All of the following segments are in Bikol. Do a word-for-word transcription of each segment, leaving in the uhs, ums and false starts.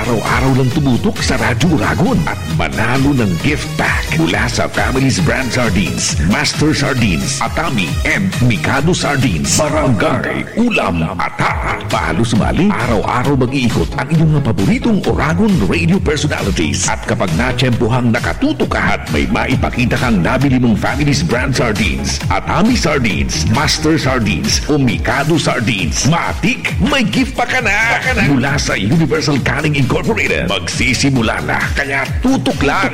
Araw-araw lang tumutok sa Radyo Uragon at manalo ng gift pack mula sa Family's Brand Sardines, Master Sardines, Atami, and Mikado Sardines. Barangay Ulam Ata. Pahalo sumali, araw-araw mag-iikot ang inyong mga paboritong Uragon radio personalities. At kapag natiyempohang nakatutok ka at may maipakita kang nabili mong Family's Brand Sardines, Atami Sardines, Master Sardines, o Mikado Sardines, matik, may gift pa ka na! Mula sa Universal Canning Incorporated, magsisimula na, kaya tutok lang!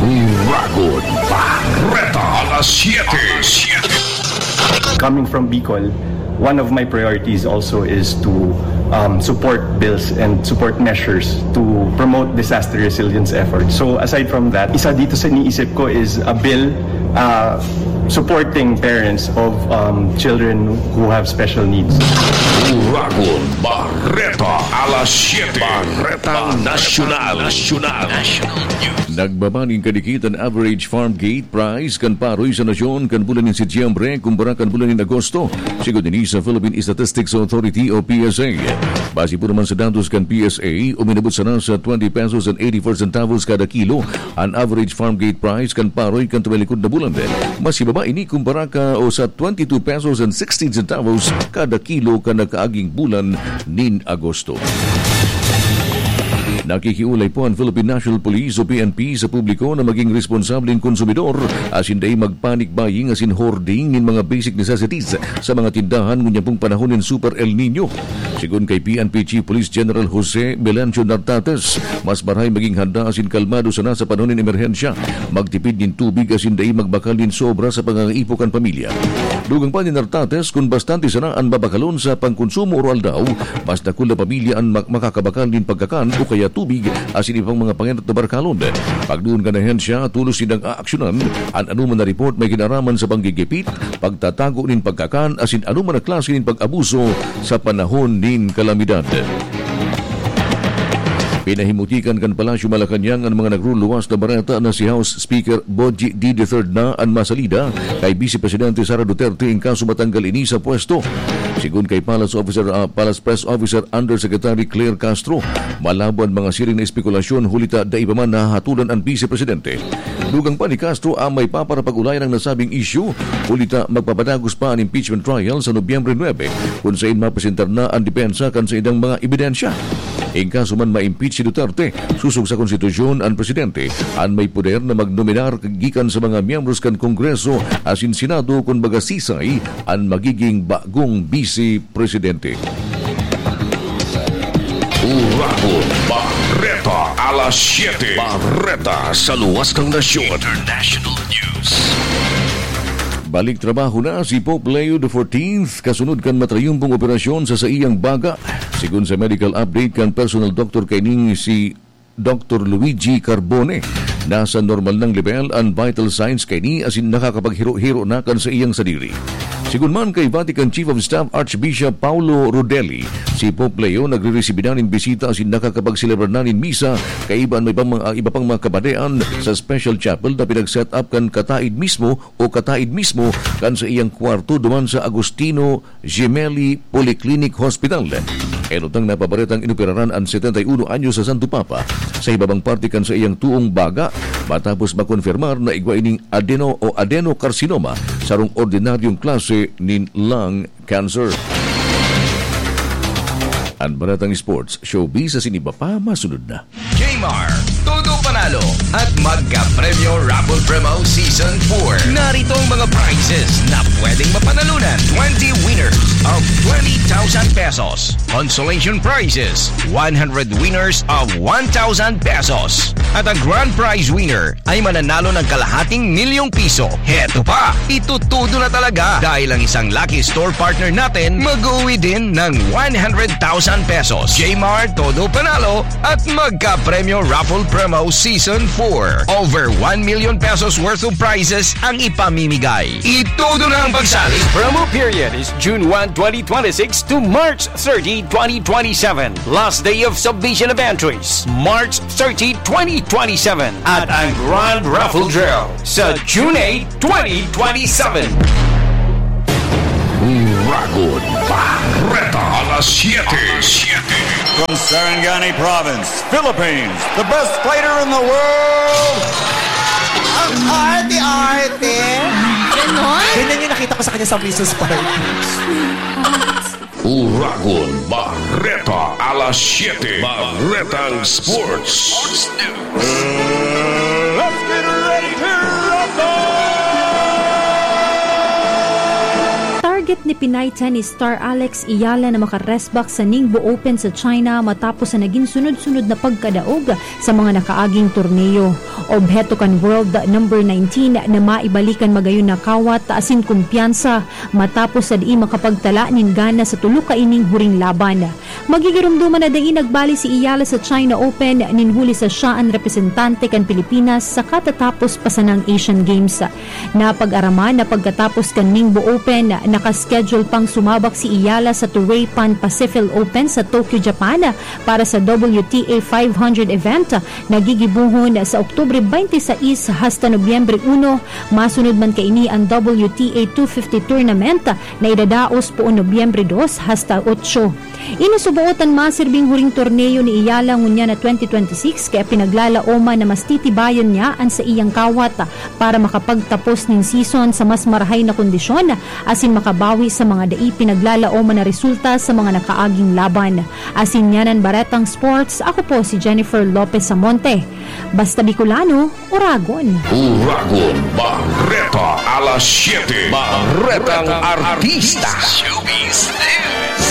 Uragon Bareta, alas siyete. Coming from Bicol, one of my priorities also is to um, support bills and support measures to promote disaster resilience efforts. So aside from that, isa dito sa iniisip ko is a bill uh, supporting parents of um, children who have special needs. Uragon Bareta, alas siyete. Bareta Nasyonal. Nasyonal. National News. Nagbaba nin kadikit an average farm gate price kan paroy sa nasyon kan bulan nin Setyembre kumpara kan bulan nin Agosto. Sigon ini sa Philippine Statistics Authority o P S A. Base po naman sa datos kan P S A, uminabot sana sa twenty pesos and eighty-four centavos kada kilo an average farm gate price kan paroy kan tumilikod na bulan. Mas ibaba ini kumpara ka o sa twenty-two pesos and sixteen centavos kada kilo kan nakaaging bulan nin Agosto. Nakikiulay po ang Philippine National Police o P N P sa publiko na maging responsableng konsumidor asin dai mag-panic buying asin hoarding nin mga basic necessities sa mga tindahan ngunyan pong panahon nin Super El Nino. Sigon kay P N P Chief Police General Jose Melancio Nartates, mas marahay maging handa asin kalmado sana sa panahon nin emerhensya, magtipid nin tubig asin dai magbakal nin sobra sa pangangaipo kan pamilya. Dugang pa ni Nartates, kun bastante sana an babakalon sa pangkonsumo aroaldaw, mas dakul na pamilya an mak- makakabakal nin pagkakan o kaya tubig asin iba pang mga pangenot na barakalon. Pagduon kan ahensya, tolos nindang aaksyonan an anoman na report may kinaraman sa panggigipit, pagtatago nin pagkakan asin anoman na klase nin pag-abuso sa panahon nin kalamidad. Pinahimutikan kan Palasyo Malacañang an mga nagruluwas na bareta na si House Speaker Boji D. the third na an masalida kay Vice Presidente Sara Duterte in kaso matanggal ini sa pwesto. Sigon kay Palace Officer, ah, Palace Press Officer Undersecretary Claire Castro, malabo an mga siring na espekulasyon huli ta dai pa man nahahatolan an Vice Presidente. Dugang pa ni Castro, ah, may paparapag-ulayan ang nasabing issue, huli ta magpapadagos pa an impeachment trial sa Nobyembre nuebe, kun sain mapresentar na an depensa kan saindang mga ebidensya. In kaso man ma-impeach si Duterte, sosog sa konstitusyon an presidente an may poder na magnominar gikan sa mga miyembros kan Kongreso asin Senado, kun baga sisay an magiging bagong bisi presidente. Uragon Bareta, alas siyete. Bareta sa luwas ng nasyon. International News. Balik trabaho na si Pope Leo the fourteenth kasunod kan matrayumpong operasyon sa saiyang baga. Sigon sa medical update kan personal doctor kaining si Doctor Luigi Carbone, nasa normal nang lebel an vital signs kaini asin nakakapaghiro-hiro na kan saiyang sadiri. Sigon man kay Vatican Chief of Staff Archbishop Paolo Rodelli, si Pope Leo nagre-resibi na nin bisita asin nakakapagselebrar na nin misa kaiba an may pang mga, iba pang mga kabadean sa special chapel na pinag-set up kan kataid mismo o kataid mismo kan saiyang kwarto duman sa Agustino Gemelli Polyclinic Hospital. Enot nang napabaretang inoperaran an setenta y uno anyos sa Santo Papa sa hibabang parte kan saiyang tuong baga matapos makonfirmar na igwa ining adeno o adenocarcinoma, sarong ordinaryong klase nin lung cancer. An baretang sports, showbiz asin iba pa masunod na. Jmar, todo panalo at magka-premyo raffle promo season four. Narito ang mga prizes na pwedeng mapanalunan. Twenty winners of twenty thousand pesos. Consolation prizes, one hundred winners of one thousand pesos. At ang grand prize winner ay mananalo ng kalahating milyong piso. Heto pa, itutudo na talaga dahil ang isang lucky store partner natin mag-uwi din ng one hundred thousand pesos. Jmar, todo panalo at magka-premyo raffle promo season four. Over one million pesos worth of prizes ang ipamimigay. Itudo na ang pagsali. Promo period is June one, twenty twenty-six to March thirty, twenty twenty-seven. Last day of submission of entries, March thirty, twenty twenty-seven. At ang Grand Raffle Draw sa June eight, twenty twenty-seven. Uragon Bareta, alas siyete. From Sarangani Province, Philippines, the best fighter in the world, ang arte-arte. Ganon? Ganyan yung nakita ko sa kanya sa Misus Park. Uragon Bareta, alas siyete. Baretang Sports. Sports News. Let's get ready to rumble! Target ni Pinay tennis star Alex Eala na maka-rest back sa Ningbo Open sa China matapos sa naging sunod-sunod na pagkadaog sa mga nakaaging torneo. Obheto kan world number nineteen na maibalikan magayon na kawat asin kumpiyansa matapos sa dai makapagtala nin gana sa tulo kaining huring laban. Magigiromdoman na dai nagbali si Eala sa China Open nin huli sa siya an representante kan Pilipinas sa katatapos pa sanang Asian Games. Napag-araman na pagkatapos kan Ningbo Open, nakaschedule pang sumabak si Eala sa Toray Pan Pacific Open sa Tokyo, Japan para sa W T A five hundred event na gigibohon sa Oktubre twenty-six hasta Nobyembre uno. Masunod man kaini an W T A two fifty tournament na idadaos poon Nobyembre dos hasta otso. Ini suboot an masirbing huring torneo ni Eala ngunyan na twenty twenty-six, kaya pinaglalaoman na mas titibayan niya an saiyang kawat para makapagtapos nin season sa mas marahay na kondisyon asin makabawi sa mga dai pinaglalaoman na resulta sa mga nakaaging laban. Asin yan an Baretang Sports, ako po si Jennifer Lopez Samonte. Basta Bicolano, Uragon. Uragon Bareta, alas siyete. Baretang Artista. Showbiz News.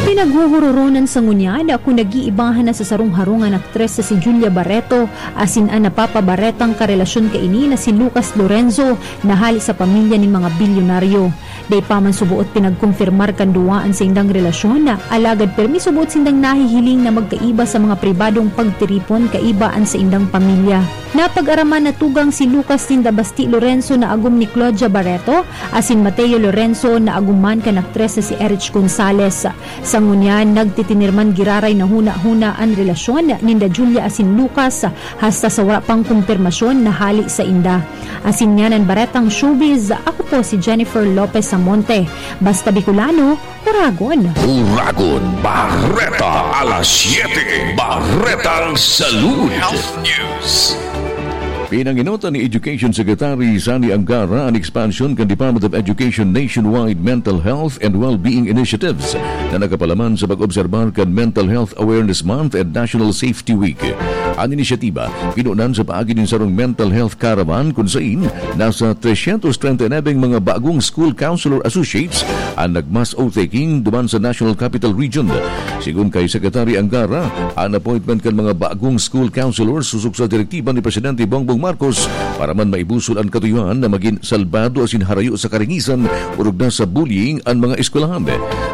Pinaghuhururonan sa ngunyan kung nag-iibahan na sa sarong harong an aktres na si Julia Barreto asin an napapabaretang karelasyon kaini na si Lucas Lorenzo na hali sa pamilya nin mga bilyonaryo. Dai pa man suboot pinagkumpirmar kan duwa an saindang relasyon, alagad pirmi suboot sindang nahihiling na magkaiba sa mga pribadong pagtiripon kaiba an saindang pamilya. Napag-araman na tugang si Lucas ninda Basti Lorenzo na agom ni Claudia Barreto asin Mateo Lorenzo na agom man kan aktres na si Erich Gonzalez. Sa ngunyan, nagtitinirman giraray na huna-huna an relasyon ninda Julia asin Lucas, hasta sa wara pang kumpirmasyon na hale sainda. Asin yan an Baretang Showbiz, ako po si Jennifer Lopez Samonte. Basta Bicolano, Uragon. Uragon Bareta, alas siyete. Baretang Salud. Health News. Pinanginotan ni Education Secretary Sani Angara an expansion kan Department of Education nationwide mental health and well-being initiatives na nakapalaman sa pag-obserbar kan Mental Health Awareness Month and National Safety Week. An inisyatiba, pinunan sa paagi nin sarong mental health caravan kun sain nasa trescientos treinta y nueve mga bagong school counselor associates an nag-mass oath-taking duman sa National Capital Region. Sigon kay Secretary Angara, an appointment kan mga bagong school counselor susog sa direktiba ni Presidente Bongbong Marcos para man maibusol an katuyuhan na magin salbado asin harayo sa karingisan orog na sa bullying an mga eskwelahan.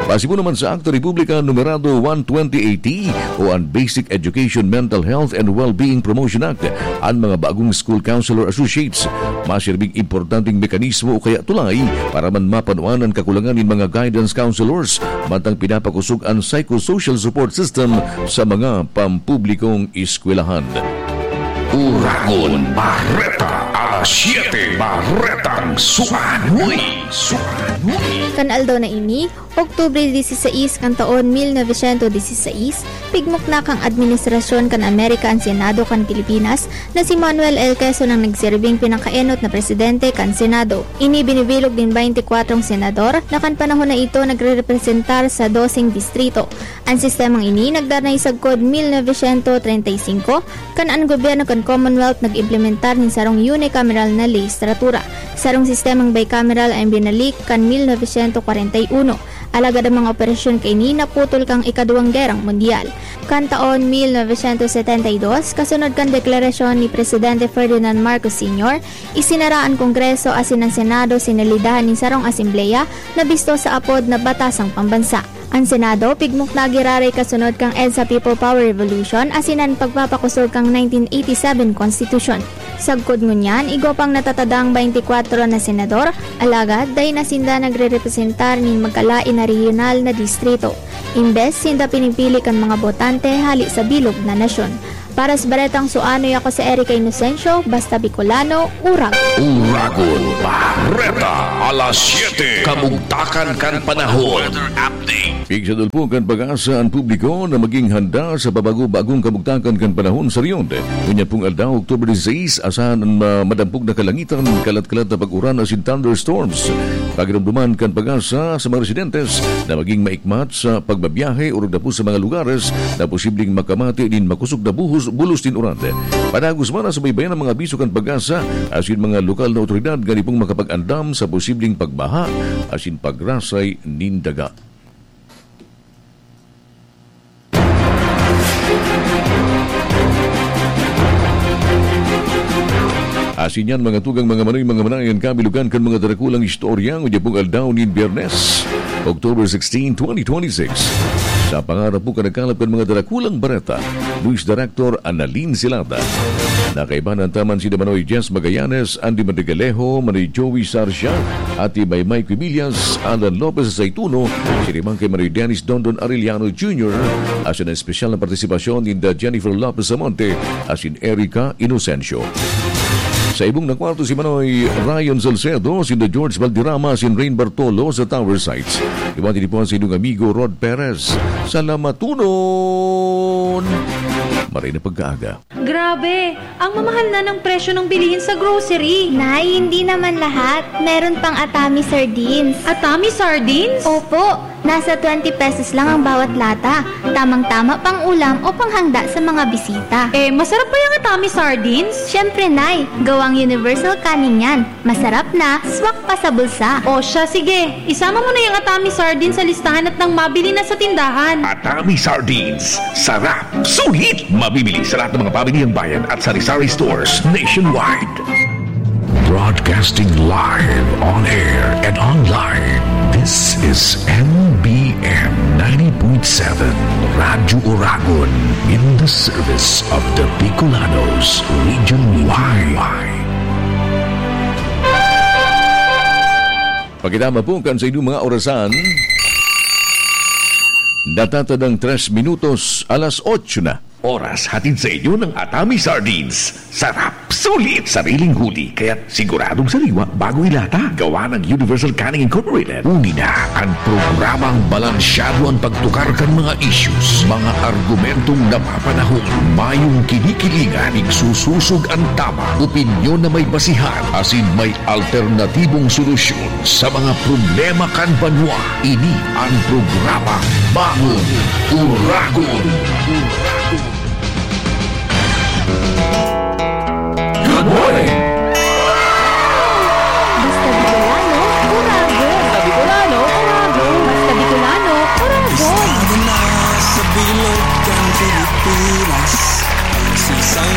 Pasibo naman sa Akta Republika Numerado one twenty-eight o an Basic Education Mental Health and Wellbeing Promotion Act, an mga bagong school counselor associates masirbing importanteng mekanismo o kaya tulay para man mapanuan an kakulangan nin mga guidance counselors mantang pinapakosog an psychosocial support system sa mga pampublikong eskwelahan. Uragon Bareta, alas siyete, Baretang Suanoy. Suanoy. Kan aldaw na ini, Oktubre dieciséis kan taon mil novecientos dieciséis, pigmukna kan administrasyon kan Amerika an Senado kan Pilipinas na si Manuel L. Quezon ang nagsirbing pinakaenot na presidente kan Senado. Ini binibilog nin baynte kwatro senador na kan panahon na ito nagrerepresentar sa doseng distrito. An sistemang ini nagdanay sagkod mil novecientos treinta y cinco, kan an gobyerno kan Commonwealth nag-implementar nin sarong unicameral na lehislatura. Sarong sistemang bicameral an binalik kan mil novecientos kwarenta y uno. Alagad an mga operasyon kaini naputol kan Ikaduwang Gerang Mundial. Kan taon mil novecientos setenta y dos, kasunod kan deklarasyon ni Presidente Ferdinand Marcos Senior, isinara an Kongreso asin an Senado, sinalidahan nin sarong asembleya na bisto sa apod na Batasang Pambansa. An Senado, pigmukna giraray kasunod kan EDSA People Power Revolution asin an pagpapakosog kan nineteen eighty-seven Konstitusyon. Sagkod ngunyan, igwa pang natatadang baynte kwatro na senador, alagad dai na sinda nagrerepresentar nin magkalain na rehiyonal na distrito. Imbes, sinda pinipili kan mga botante hale sa bilog na nasyon. Para sa Baretang Suanoy, ako si Erica Inocencio, basta Bicolano, Uragon. Uragon, Bareta, alas siyete, kamugtakan kan panahon. Weather update. Pigsadol po kan PAGASA an publiko na maging handa sa pabago-bagong kamugtakan kan panahon sa rehiyon. Ngunyan pong aldaw, October diseis, asahan an ma-, madampog na kalangitan, kalat-kalat na pag-uran asin thunderstorms. Pagiromdoman kan PAGASA sa mga residentes na maging maikmat sa pagbabiyahe orog na po sa mga lugares na posibleng makamati nin makosog na buhos, bulos nin uran. Padagos man, nasubaybayan an mga abiso kan PAGASA asin mga lokal na awtoridad nganing pong makapag-andam sa posibleng pagbaha asin pagrasay nin daga. Asin yan, mga tugang, mga manoy, mga manay, an kabilugan kan mga darakulang istorya ngunyan pong aldaw nin Biyernes, October sixteen, twenty twenty-six. Sa pangarap po kan nagkalap kan mga darakulang bareta, News Director Annalyn Silada. Nakaibahan ta man si Manoy Jess Magallanes, Andy Madrigalejo, Manoy Joey Sarcia, Ate Maymay Quimillas, Alan Lopez Saituno, si Rimang kay Manoy Dennis Dondon Arellano Junior, asin an espesyal na partisipasyon ninda Jennifer Lopez Samonte, asin Erica Inocencio. Sa ibong na kwarto si Manoy Ryan Salcedo, si George Valderrama, si Rain Bartolo sa Tower Sites. Iwan din po sa inyong amigo Rod Perez. Salamaton! Maray na pagkaaga. Grabe! Ang mamahal na ng presyo ng bilihin sa grocery. Nay, hindi naman lahat. Meron pang Atami sardines. Atami sardines? Opo, nasa twenty pesos lang ang bawat lata. Tamang-tama pang ulam o panghanda sa mga bisita. Eh, masarap ba yung Atami sardines? Siyempre, Nay. Gawang universal canning yan. Masarap na, swak pa sa bulsa. O siya, sige. Isama mo na yung Atami sardines sa listahan at nang mabili na sa tindahan. Atami sardines. Sarap. Sulit. Mabibili sa lahat ng mga pamilihang bayan at sari-sari stores nationwide. Broadcasting live on air and online. This is M B N ninety point seven Radyo Uragon, in the service of the Bicolanos, Region Y. Pagkitama po kan sa inyong mga orasan, natatadang tres minutos, alas otso na. Oras hatid sa inyo ng Atami Sardines. Sarap, sulit, sariling huli, kaya't siguradong sariwa bago ilata. Gawa ng Universal Canning Incorporated. Uni na ang programang balansyado an pagtukar kan mga issues, mga argumentong napapanahon, mayong kinikilingan, igsususog an tama, opinyon na may basihan, asin may alternatibong solusyon sa mga problema kan banwa. Ini an programa Bagong Uragon. Good morning! Basta Bicolano, Uragon. Basta Bicolano, Uragon. Basta Bicolano, Uragon. Estado na sa bilog kan Pilipinas. Siisay